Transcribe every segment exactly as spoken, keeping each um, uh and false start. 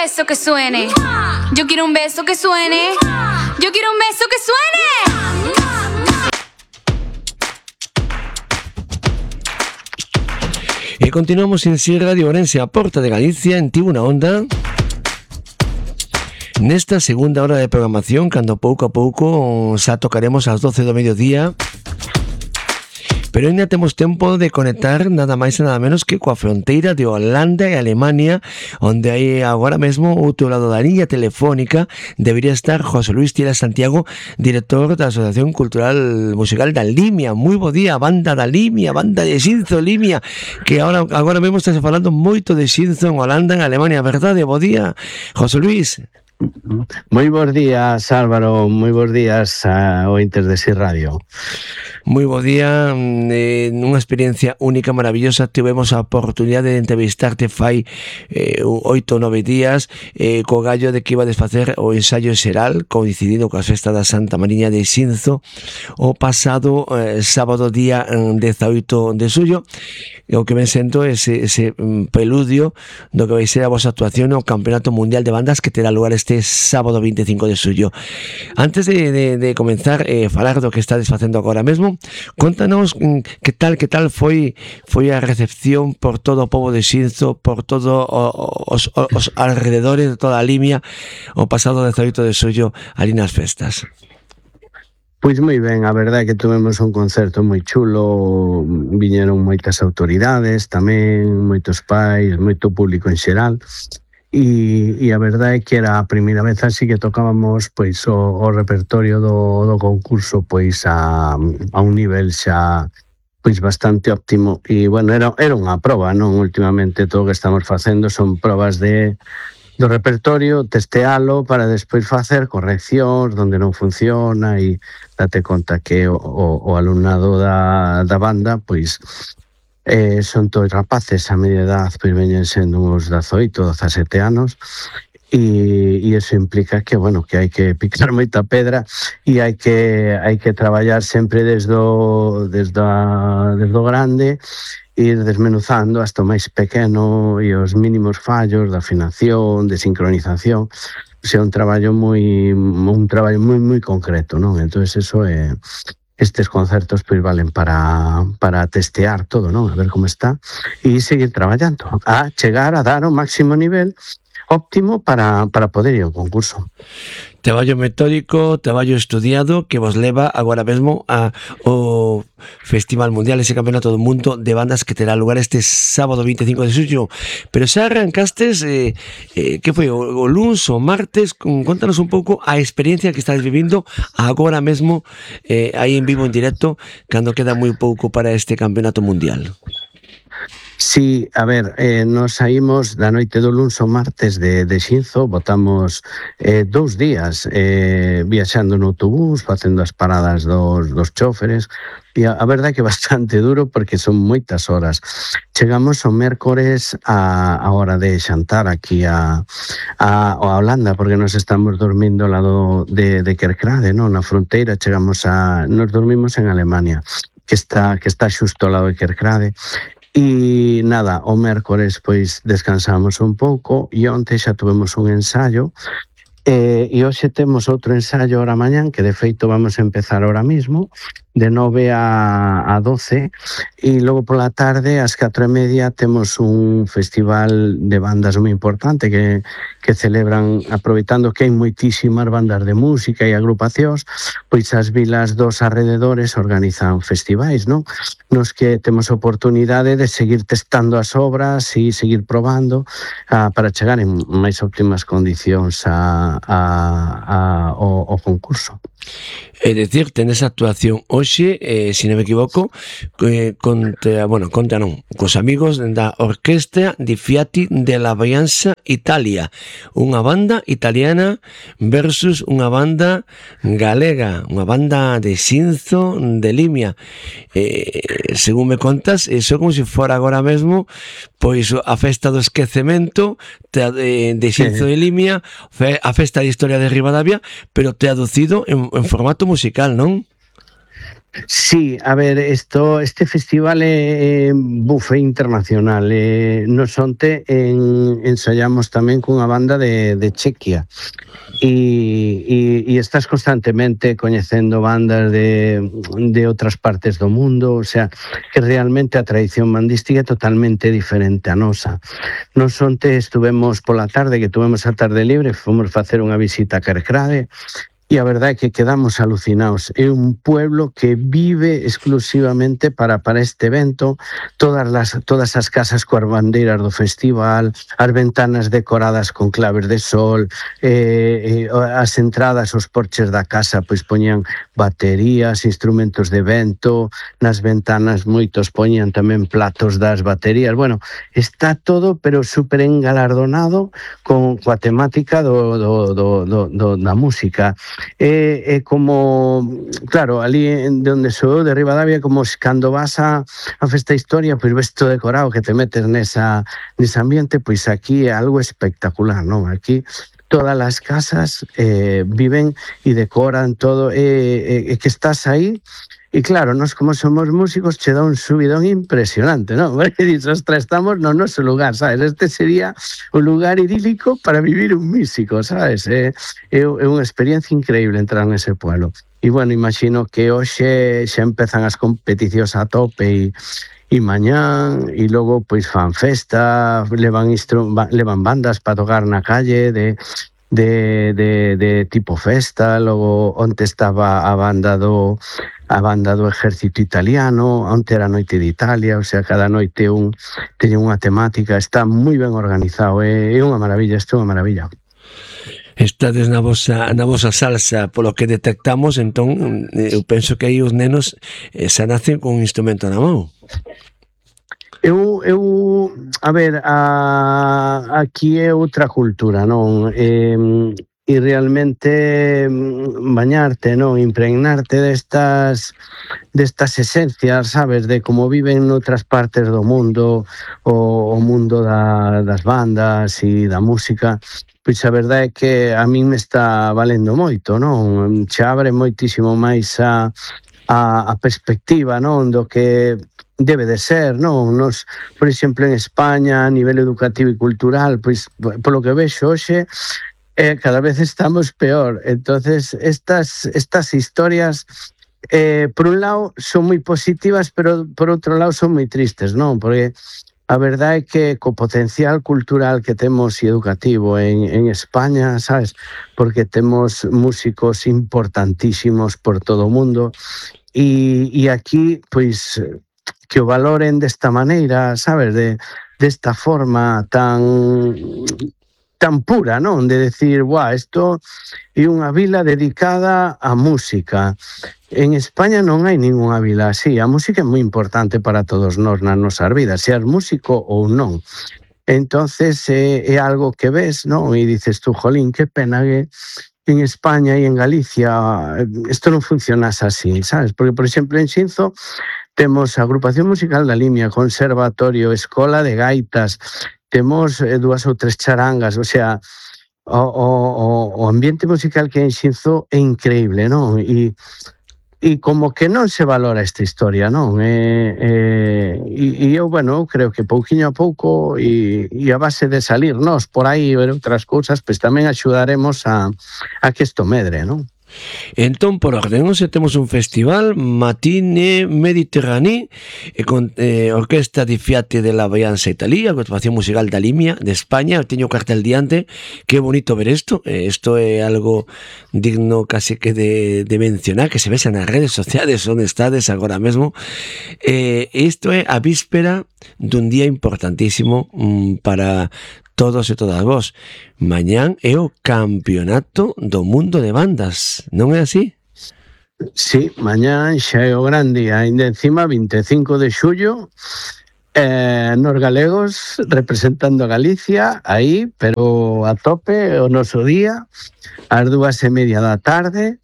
beso que suene. Yo quiero un beso que suene. Yo quiero un beso que suene. E continuamos en Si Radio Ourense, a porta de Galicia, en Tivo na Onda. Nesta segunda hora de programación, cando pouco a pouco xa tocaremos ás doce do mediodía. Pero ainda temos tempo de conectar nada máis e nada menos que coa fronteira de Holanda e Alemania, onde aí agora mesmo ao outro lado da liña telefónica debería estar José Luis Tila Santiago, director da Asociación Cultural Musical da Limia. Moi bo día, banda da Limia, banda de Xinzo Limia, que agora, agora mesmo está falando moito de Xinzo en Holanda, en Alemania, verdade? Bo día, José Luis. Moi bons días, Álvaro, moi bons días a ointes de Si Radio. Moi bo día, eh, nunha experiencia única, maravillosa. Tivemos a oportunidade de entrevistarte fai eh, oito ou nove días eh, co gallo de que iba a desfacer o ensaio xeral coincidindo coa festa da Santa Mariña de Xinzo o pasado eh, sábado día dezaoito de xullo. E o que me sento é ese, ese peludio do que vai ser a vosa actuación no Campeonato Mundial de Bandas que terá lugar este sábado veinticinco de xullo. Antes de, de, de comenzar eh, falar do que estades facendo agora mesmo, contanos mm, que tal que tal foi foi a recepción por todo o pobo de Xinzo, por todo o, os, os alrededores de toda a Limia o pasado dezaoito de xullo ali nas festas. Pois moi ben, a verdade é que tuvemos un concerto moi chulo, viñeron moitas autoridades, tamén moitos pais, moito público en xeral. E, e a verdade é que era a primeira vez así que tocábamos pois o, o repertorio do, do concurso pois a, a un nivel xa pois bastante óptimo e bueno, era, era unha proba, non? Últimamente todo o que estamos facendo son probas de do repertorio, testealo para despois facer correccións onde non funciona e date conta que o, o, o alumnado da, da banda pois Eh, son todos rapaces a media edad, pois veñen sendo uns dezaoito, dezasete anos e, e eso implica que, bueno, que hai que picar moita pedra e hai que hai que traballar sempre desde o, desde a, desde o grande, ir desmenuzando hasta o máis pequeno e os mínimos fallos de afinación, de sincronización. O sea, un traballo moi un traballo moi moi concreto, non? Entonces eso é estes concertos pois valen para, para testear todo, non? A ver como está e seguir traballando, a chegar a dar o máximo nivel óptimo para, para poder ir ao concurso. Traballo metódico, traballo estudiado que vos leva agora mesmo a o Festival Mundial, ese Campeonato do Mundo de Bandas que terá lugar este sábado veinticinco de xullo. Pero xa arrancastes, eh, eh, que foi, o, o luns ou martes? Contanos un pouco a experiencia que estás vivindo agora mesmo eh, aí en vivo, en directo, cando queda moi pouco para este Campeonato Mundial. Sí, a ver, eh, nos saímos da noite do luns ao martes de, de Xinzo, botamos eh, dous días eh, viaxando no autobús, facendo as paradas dos, dos choferes, e a, a verdade que é bastante duro porque son moitas horas. Chegamos o mércores a, a hora de xantar aquí a, a, a Holanda, porque nos estamos dormindo ao lado de, de Kerkrade, non? Na fronteira, chegamos a... Nos dormimos en Alemania, que está, que está xusto ao lado de Kerkrade. E nada, o mércores pois descansamos un pouco e onte xa tuvemos un ensaio e, e hoxe temos outro ensaio ahora mañán que de feito vamos a empezar ahora mismo de nove a doce e logo pola tarde ás catro e media temos un festival de bandas moi importante que, que celebran, aproveitando que hai moitísimas bandas de música e agrupacións, pois as vilas dos alrededores organizan festivais, non? Nos que temos oportunidade de seguir testando as obras e seguir probando uh, para chegar en máis óptimas condicións a, a, a, ao, ao concurso. É dicir, tenes actuación hoxe, eh, se non me equivoco, eh, contra, bueno, contra non, cos amigos da Orquestra di Fiati della Brianza Italia, unha banda italiana versus unha banda galega, unha banda de Xinzo de Limia. Eh, según me contas, eso como se fora agora mesmo pois a festa do esquecemento de, de Xinzo de Limia, a festa de historia de Ribadavia, pero traducido en, en formato musical, non? Sí, a ver, esto, este festival é eh, buffet internacional. Eh, nos onte en, ensayamos tamén cunha banda de, de Chequia. E, e, e estás constantemente coñecendo bandas de, de outras partes do mundo, o sea, que realmente a tradición bandística é totalmente diferente a nosa. Nos onte estuvemos pola tarde, que tuvemos a tarde libre, fomos facer unha visita a Kerkrade, e a verdade é que quedamos alucinados. É un pueblo que vive exclusivamente para, para este evento, todas las, todas as casas coas bandeiras do festival, as ventanas decoradas con claves de sol, eh, eh, as entradas, os porches da casa, pois poñían baterías, instrumentos de vento, nas ventanas moitos poñían tamén platos das baterías. Bueno, está todo, pero super engalardonado con coa temática do, do, do, do, do, da música. É, é como, claro, ali de onde sou de Ribadavia, como cando vas a, a Festa Historia, pois ves todo decorado, que te metes nesa, nese ambiente, pois aquí é algo espectacular, non? Aquí todas as casas eh, viven e decoran todo, e eh, eh, que estás aí. E claro, nós como somos músicos che dá un subidón impresionante, non? Porque dices, ostras, estamos no noso lugar, sabes? Este sería un lugar idílico para vivir un músico, sabes? É, é, é unha experiencia increíble entrar nese pueblo. E bueno, imagino que hoxe xa empezan as competicións a tope e e mañán, e logo pois fan festa, levan, instru levan bandas para tocar na calle de de, de, de tipo festa. Logo onte estaba a banda do a banda do exército italiano, onte era a noite de Italia, o sea, cada noite un teña unha temática, está moi ben organizado, é, é unha maravilla, isto é unha maravilla. Estades na vosa, na vosa salsa, polo que detectamos, entón eu penso que aí os nenos eh, xa nacen con un instrumento na mão. Eu, eu, a ver, a, aquí é outra cultura, non? E, e realmente bañarte, non? Impregnarte destas destas esencias, sabes? De como viven noutras partes do mundo, o, o mundo da, das bandas e da música. Pois a verdade é que a min me está valendo moito, non? Che abre moitísimo máis a, a, a perspectiva, non? Do que debe de ser, non? Nos, por exemplo, en España, a nivel educativo e cultural, pois, polo que vexo hoxe, eh, cada vez estamos peor. Entonces, estas, estas historias, eh, por un lado, son moi positivas, pero por outro lado son moi tristes, non? Porque a verdade é que co potencial cultural que temos e educativo en, en España, sabes? Porque temos músicos importantísimos por todo o mundo, e, e aquí, pois, que o valoren desta maneira, sabes, de desta forma tan tan pura, non? De decir, buah, isto é unha vila dedicada á música. En España non hai ningunha vila así. A música é moi importante para todos nós nas nosas vidas, seas músico ou non. Entonces é, é algo que ves, non? E dices tú, jolín, que pena que en España e en Galicia isto non funcionase así, sabes? Porque, por exemplo, en Xinzo temos a Agrupación Musical da Limia, Conservatorio, Escola de Gaitas, temos eh, dúas ou tres charangas, o sea, o, o, o ambiente musical que hai en Xinzo é increíble, non? E, e como que non se valora esta historia, non? E, e, e eu, bueno, creo que pouquiño a pouco e, e a base de salirnos por aí ver outras cousas, pois tamén axudaremos a, a que isto medre, non? Entón, por orden, hoxe temos un festival Matine Mediterranee e con eh, Orquesta di Fiati de la Brianza Italia, Agrupación Musical da Limia de España. Eu teño cartel diante, que bonito ver isto. Isto eh, é algo digno casi que de, de mencionar, que se vexa nas redes sociales onde estades agora mesmo. Eh, isto é a víspera dun día importantísimo mm, para todos e todas vos. Mañán é o campeonato do mundo de bandas, non é así? Sí, mañán xa é o gran día, ainda encima vinte e cinco de xullo, eh, nos galegos representando a Galicia aí, pero a tope o noso día, ás dúas e media da tarde.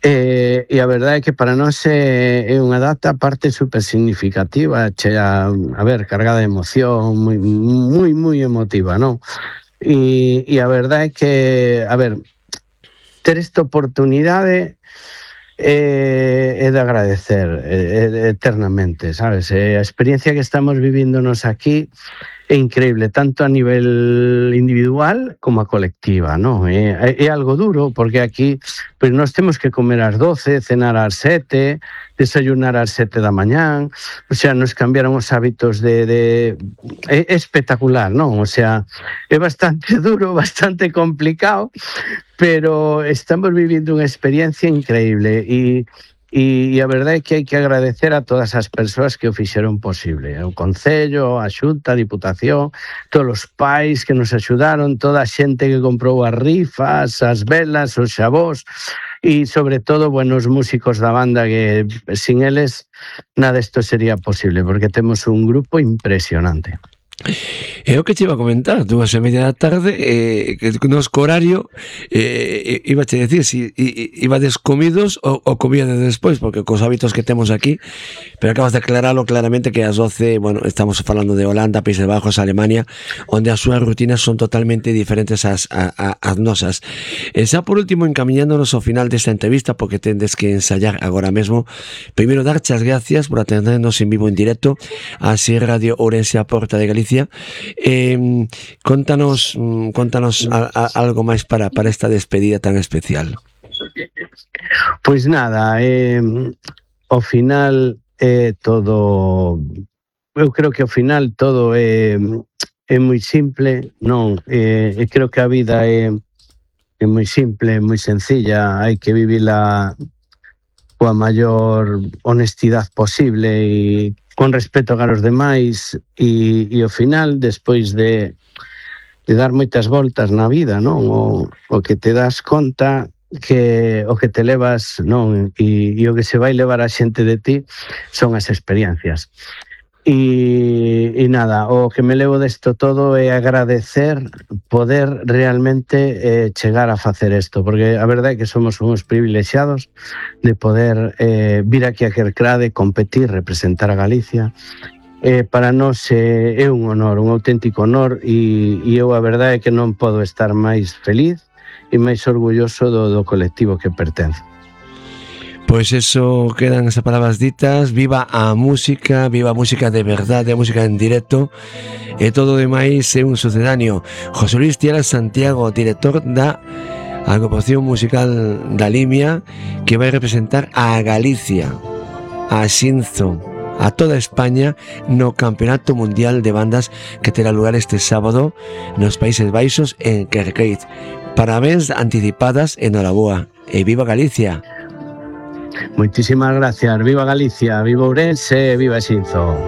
Eh, e a verdade é que para nós é, é unha data parte super significativa, chea, a ver, cargada de emoción, moi, moi, moi emotiva, non? E, e a verdade é que, a ver, ter esta oportunidade é, é de agradecer é, é, eternamente, sabes? É, a experiencia que estamos viviéndonos aquí é increíble, tanto a nivel individual como a colectiva, ¿no? É, é algo duro, porque aquí pues, nós temos que comer ás doce, cenar ás sete, desayunar ás sete da mañán, o sea, nos cambiaron os hábitos de... de é, é espectacular, non? O sea, é bastante duro, bastante complicado, pero estamos vivindo unha experiencia increíble e E, e a verdade é que hai que agradecer a todas as persoas que o fixeron posible. O Concello, a Xunta, a Diputación, todos os pais que nos axudaron, toda a xente que comprou as rifas, as velas, os xabós, e sobre todo, bueno, os músicos da banda que sin eles nada isto sería posible, porque temos un grupo impresionante. É o que te iba a comentar, dúas e media da tarde, eh, que nos horario, eh, iba a te decir, si ibades comidos ou, ou comíades despois, porque cos hábitos que temos aquí, pero acabas de aclararlo claramente que ás doce, bueno, estamos falando de Holanda, Países Bajos, Alemania, onde as súas rutinas son totalmente diferentes ás, a, a, as nosas. E xa por último, encamiñándonos ao final desta entrevista, porque tendes que ensayar agora mesmo, primeiro darche as gracias por atendernos en vivo en directo a Así Radio Ourense a Porta de Galicia. Eh, contanos contanos a, a, algo máis para, para esta despedida tan especial. Pois nada, eh, ao final é todo, eu creo que ao final todo é, é moi simple, non, eh, creo que a vida é, é moi simple, moi sencilla, hai que vivila coa maior honestidade posible e con respeto a os demais e, e ao final, despois de, de dar moitas voltas na vida, non? O, o que te das conta que o que te levas, non? E, e o que se vai levar a xente de ti son as experiencias. E, e nada, o que me levo desto todo é agradecer poder realmente eh, chegar a facer isto, porque a verdade é que somos uns privilexiados de poder eh, vir aquí a Kerkrade, competir, representar a Galicia. Eh, para nós eh, é un honor, un auténtico honor e, e eu a verdade é que non podo estar máis feliz e máis orgulloso do, do colectivo que pertenzo. Pois eso, quedan esas palabras ditas. Viva a música, viva a música de verdade, a música en directo, e todo demais é un sucedáneo. José Luis Tiara Santiago, director da agrupación musical da Limia, que vai representar a Galicia, a Xinzo, a toda España no Campeonato Mundial de Bandas que terá lugar este sábado nos Países Baixos en Kerkrade. Parabéns anticipadas, enhoraboa e viva Galicia. Moitísimas gracias, viva Galicia, viva Ourense, viva Xinzo.